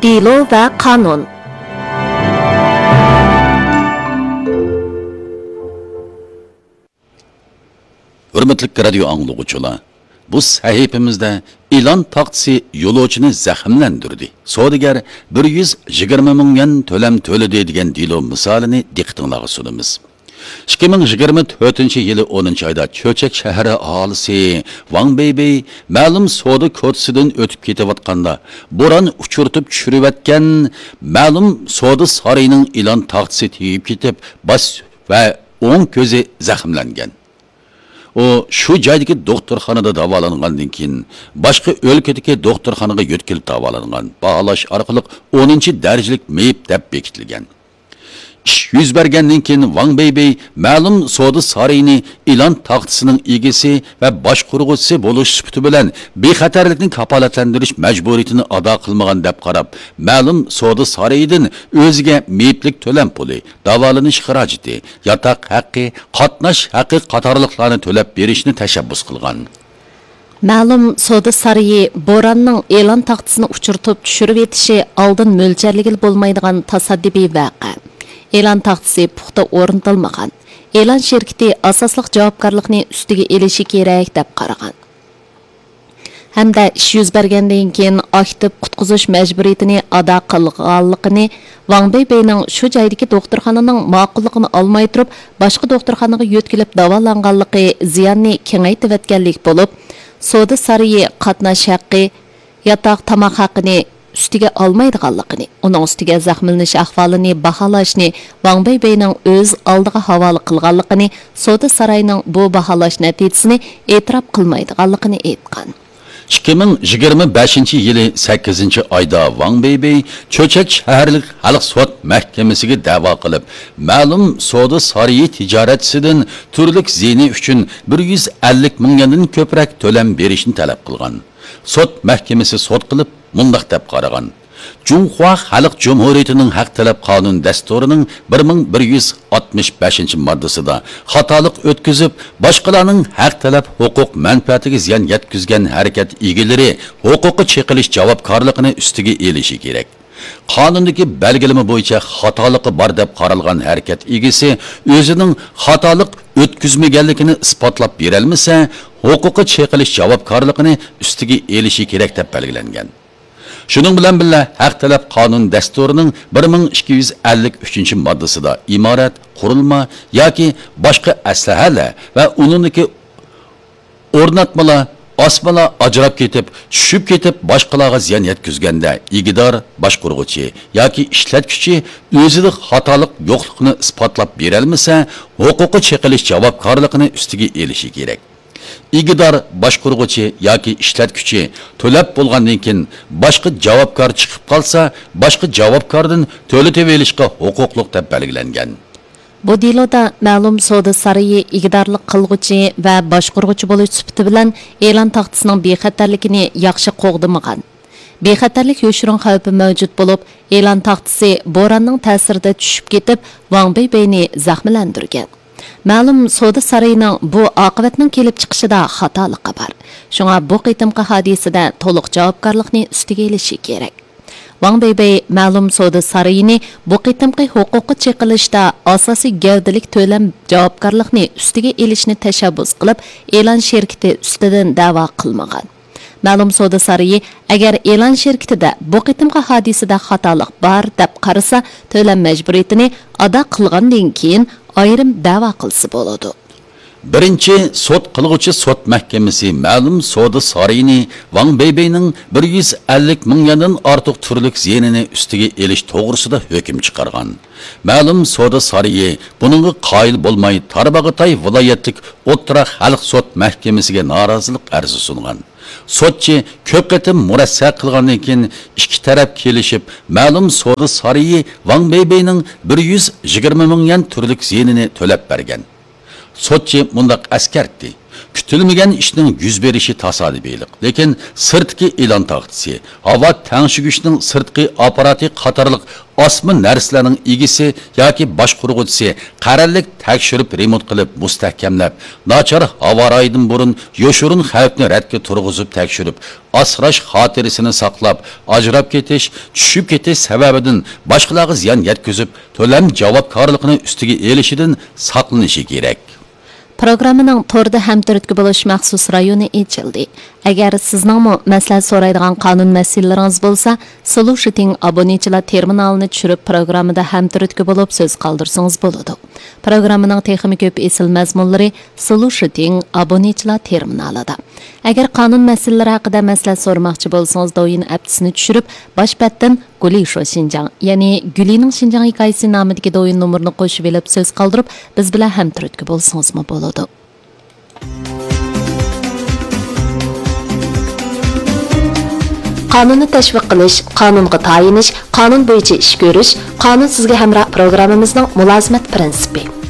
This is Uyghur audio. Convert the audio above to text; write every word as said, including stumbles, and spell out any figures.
دېلو ۋە قانۇن. ھۆرمەتلىك رادىيو ئاڭلىغۇچىلار، بۇ سەھىپىمىزدە ئېلان تاختىسى يولۇچىنى زەخىملەندۈردى، سودىگەر بىر يۈز يىگىرمە مىڭ يۈەن تۆلەم تۆلىدى دېگەن دېلو مىسالىنى دىققىتىڭلارغا سۇنىمىز. ئىككى مىڭ يىگىرمە تۆتىنچى يىلى ئونىنچى ئايدا چۆچەك شەھىرى ئاھالىسى ۋاڭ بەيبەي مەلۇم سودا كوچىسىدىن ئۆتۈپ كېتىۋاتقاندا، بوران ئۇچۇرتۇپ چۈشۈرۈۋەتكەن مەلۇم سودا سارىيىنىڭ ئېلان تاختىسى تېگىپ كېتىپ، باش ۋە ئوڭ كۆزى زەخىملەنگەن. ئۇ شۇ جايدىكى دوختۇرخانىدا داۋالانغاندىن كېيىن، باشقا ئۆلكىدىكى دوختۇرخانىغا يۆتكىلىپ داۋالانغان، باھالاش ئارقىلىق ئونىنچى دەرىجىلىك مېيىپ دەپ بېكىتىلگەن. ئىش يۈز بەرگەندىن كېيىن، ۋاڭ بەيبەي مەلۇم سودا سارىيىنى ئېلان تاختىسىنىڭ ئىگىسى ۋە باشقۇرغۇچىسى بولۇش سۈپىتى بىلەن بىخەتەرلىكنى كاپالەتلەندۈرۈش مەجبۇرىيىتىنى ئادا قىلمىغان دەپ قاراپ، مەلۇم سودا سارىيىدىن ئۆزىگە مېيىپلىك تۆلەم پۇلى، داۋالىنىش خىراجىتى، ياتاق ھەققى، قاتناش ھەققى قاتارلىقلارنى تۆلەپ بېرىشنى تەشەببۇس قىلغان. مەلۇم سودا سارىيى بوراننىڭ ئېلان تاختىسىنى ئۇچۇرتۇپ چۈشۈرۈۋېتىشى ئالدىن مۆلچەرلىگىلى بولمايدىغان تاسادىپىي ۋەقە. ئېلان تاختىسى پۇختا ئورنىتىلمىغان. ئېلان شىركىتى ئاساسلىق جاۋابكارلىقنى ئۈستىگە ئېلىشى كېرەك دەپ قارىغان. ھەمدە ئىش يۈز بەرگەندىن كېيىن ئاكتىپ قۇتقۇزۇش مەجبۇرىيىتىنى ئادا قىلغانلىقىنى، ۋاڭ بەيبەينىڭ شۇ جايدىكى دوختۇرخانىنىڭ ماقۇللۇقىنى ئالماي تۇرۇپ، باشقا دوختۇرخانىغا يۆتكىلىپ داۋالانغانلىقى زىياننى كېڭەيتىۋەتكەنلىك بولۇپ، سودا سارىيى قاتناش ھەققى، ياتاق، تاماق ھەققىنى ئۈستىگە ئالمايدىغانلىقىنى، ئۇنىڭ ئۈستىگە زەخىملىنىش ئەھۋالىنى باھالاشنى ۋاڭ بەيبەينىڭ ئۆز ئالدىغا ھاۋالە قىلغانلىقىنى، سودا سارايىنىڭ بۇ باھالاش نەتىجىسىنى ئېتىراپ قىلمايدىغانلىقىنى ئېيتقان. ئىككى مىڭ يىگىرمە بەشىنچى يىلى سەككىزىنچى ئايدا ۋاڭ بېيبېي چۆچەك شەھەرلىك خەلق سوت مەھكىمىسىگە دەۋا قىلىپ، مەلۇم سودا سارىيى تىجارەتچىسىدىن تۈرلۈك زىيىنى ئۈچۈن بىر يۈز ئەللىك مىڭ يۈەندىن كۆپرەك تۆلەم بېرىشنى تەلەپ قىلغان. سوت مەھكىمىسى سوت قىلىپ، مۇنداق دەپ قارىغان: جۇڭخۇا خەلق جۇمھۇرىيىتىنىڭ ھەق تەلەپ قانۇن دەستۇرىنىڭ بىر مىڭ بىر يۈز ئاتمىش بەشىنچى ماددىسىدا خاتالىق ئۆتكۈزۈپ، باشقىلارنىڭ ھەق تەلەپ ھوقۇق مەنپەئەتىگە زىيان يەتكۈزگەن ھەرىكەت ئىگىلىرى ھوقۇققا چېقىلىش جاۋابكارلىقىنى ئۈستىگە ئېلىشى كېرەك. قانۇندىكى بەلگىلىمە بويىچە خاتالىقى بار دەپ قارالغان ھەرىكەت ئىگىسى ئۆزىنىڭ خاتالىق ئۆتكۈزمىگەنلىكىنى ئىسپاتلاپ بېرەلمىسە، ھوقۇققا چېقىلىش جاۋابكارلىقىنى ئۈستىگە ئېلىشى كېرەك دەپ بەلگىلەنگەن. شۇنىڭ بىلەن بىللە، ھەق تەلەپ قانۇن دەستۇرىنىڭ بىر مىڭ ئىككى يۈز ئەللىك ئۈچىنچى ماددىسىدا ئىمارەت، قۇرۇلما ياكى باشقا ئەسلىھەلەر ۋە ئۇنىڭدىكى ئورناتمىلار، ئاسمىلار ئاجراپ كېتىپ، چۈشۈپ كېتىپ، باشقىلارغا زىيان يەتكۈزگەندە، ئىگىدار، باشقۇرغۇچى ياكى ئىشلەتكۈچى ئۆزىدە خاتالىق يوقلۇقىنى ئىسپاتلاپ بېرەلمىسە، ھوقۇققا چېقىلىش جاۋابكارلىقىنى ئۈستىگە ئېلىشى كېرەك. ئىگىدار، باشقۇرغۇچى ياكى ئىشلەتكۈچى تۆلەپ بولغاندىن كېيىن باشقا جاۋابكار چىقىپ قالسا، باشقا جاۋابكاردىن تۆلىتىۋېلىشقا ھوقۇقلۇق دەپ بەلگىلەنگەن. بۇ دېلودا مەلۇم سودا سارىيى ئىگىدارلىق قىلغۇچى ۋە باشقۇرغۇچى بولۇش سۈپىتى بىلەن ئېلان تاختىسىنىڭ بىخەتەرلىكىنى ياخشى قوغدىمىغان. بىخەتەرلىك يوشۇرۇن خەۋپى مەۋجۇت بولۇپ، ئېلان تاختىسى بوراننىڭ تەسىرىدە چۈشۈپ كېتىپ، ۋاڭ بېيبېينى زەخىملەندۈرگەن. مەلۇم سودا سارىيىنىڭ بۇ ئاقىۋەتنىڭ كېلىپ چىقىشىدا خاتالىقى بار. شۇڭا بۇ قېتىمقى ھادىسىدە تولۇق جاۋابكارلىقنى ئۈستىگە ئېلىشى كېرەك. ۋاڭ بېيبېي مەلۇم سودا سارىيىنى بۇ قېتىمقى ھوقۇققا چېقىلىشتا ئاساسىي گەۋدىلىك تۆلەم جاۋابكارلىقنى ئۈستىگە ئېلىشنى تەشەببۇس قىلىپ، ئېلان شىركىتى ئۈستىدىن دەۋا قىلمىغان. مەلۇم سودا سارىيى ئەگەر ئېلان شىركىتىدە بۇ قېتىمقى ھادىسىدە خاتالىق بار دەپ قارىسا، تۆلەم مەجبۇرىيىتىنى ئادا قىلغاندىن كېيىن ئايرىم دەۋا قىلسا بولىدۇ. بىرىنچى سوت قىلغۇچى سوت مەھكىمىسى مەلۇم سودا سارىيىنى ۋاڭ بېيبېينىڭ بىر يۈز ئەللىك مىڭ يۈەندىن ئارتۇق تۈرلۈك زىيىنىنى ئۈستىگە ئېلىش توغرىسىدا ھۆكۈم چىقارغان. مەلۇم سودا سارىيى بۇنىڭغا قايىل بولماي، تارباغاتاي ۋىلايەتلىك ئوتتۇرا خەلق سوت مەھكىمىسىگە نارازىلىق ئەرزى سۇنغان. سوتچى كۆپ قېتىم مۇرەسسە قىلغاندىن كېيىن، ئىككى تەرەپ كېلىشىپ، مەلۇم سودا سارىيى ۋاڭ بېيبېينىڭ بىر يۈز يىگىرمە مىڭ يۈەن تۈرلۈك زىيىنىنى تۆلەپ بەرگەن. سوتچى مۇنداق ئەسكەرتتى: كۈتۈلمىگەن ئىشنىڭ يۈز بېرىشى تاسادىپىيلىق، لېكىن سىرتقى ئېلان تاختىسى، ھاۋا تەڭشىگۈچنىڭ سىرتقى ئاپپاراتى قاتارلىق ئاسما نەرسىلەرنىڭ ئىگىسى ياكى باشقۇرغۇچىسى قەرەللىك تەكشۈرۈپ رېمونت قىلىپ مۇستەھكەملەپ، ناچار ھاۋا رايىدىن بۇرۇن يوشۇرۇن خەۋپنى رەتكە تۇرغۇزۇپ تەكشۈرۈپ، ئاسراش خاتىرىسىنى ساقلاپ، ئاجراپ كېتىش، چۈشۈپ كېتىش سەۋەبىدىن باشقىلارغا زىيان يەتكۈزۈپ، تۆلەم جاۋابكارلىقىنى ئۈستىگە ئېلىشىدىن ساقلىنىشى كېرەك. پروگراممىنىڭ توردا ھەمتۈرتكە بولۇش مەخسۇس رايونى ئېچىلدى. ئەگەر سىزنىڭمۇ مەسلىھەت سورايدىغان قانۇن مەسىلىلىرىڭىز بولسا، سولۇشىتىڭ ئابونېنتچىلار تېرمىنالىنى چۈشۈرۈپ، پروگراممىدا ھەمتۈرتكە بولۇپ سۆز قالدۇرسىڭىز بولىدۇ. پروگراممىنىڭ تېخىمۇ كۆپ ئېسىل مەزمۇنلىرى سولۇشىتىڭ ئابونېنتچىلار تېرمىنالىدا. ئەگەر قانۇن مەسىلىلىرى ھەققىدە مەسلىھەت سورىماقچى بولسىڭىز، دويىن ئەپتىسىنى چۈشۈرۈپ، باش بەتتىن گۇلى شو شىنجاڭ، يەنى گۈلىنىڭ شىنجاڭ ھېكايىسى نامىدىكى دويىن نومۇرىنى قوشۇۋېلىپ سۆز قالدۇرۇپ، بىز بىلەن ھەمتۈرتكە بولسىڭىزمۇ بولىدۇ. قانۇننى تەشۋىق قىلىش، قانۇنغا تايىنىش، قانۇن بويىچە ئىش كۆرۈش، قانۇن سىزگە ھەمراھ پروگراممىمىزنىڭ مۇلازىمەت پىرىنسىپى.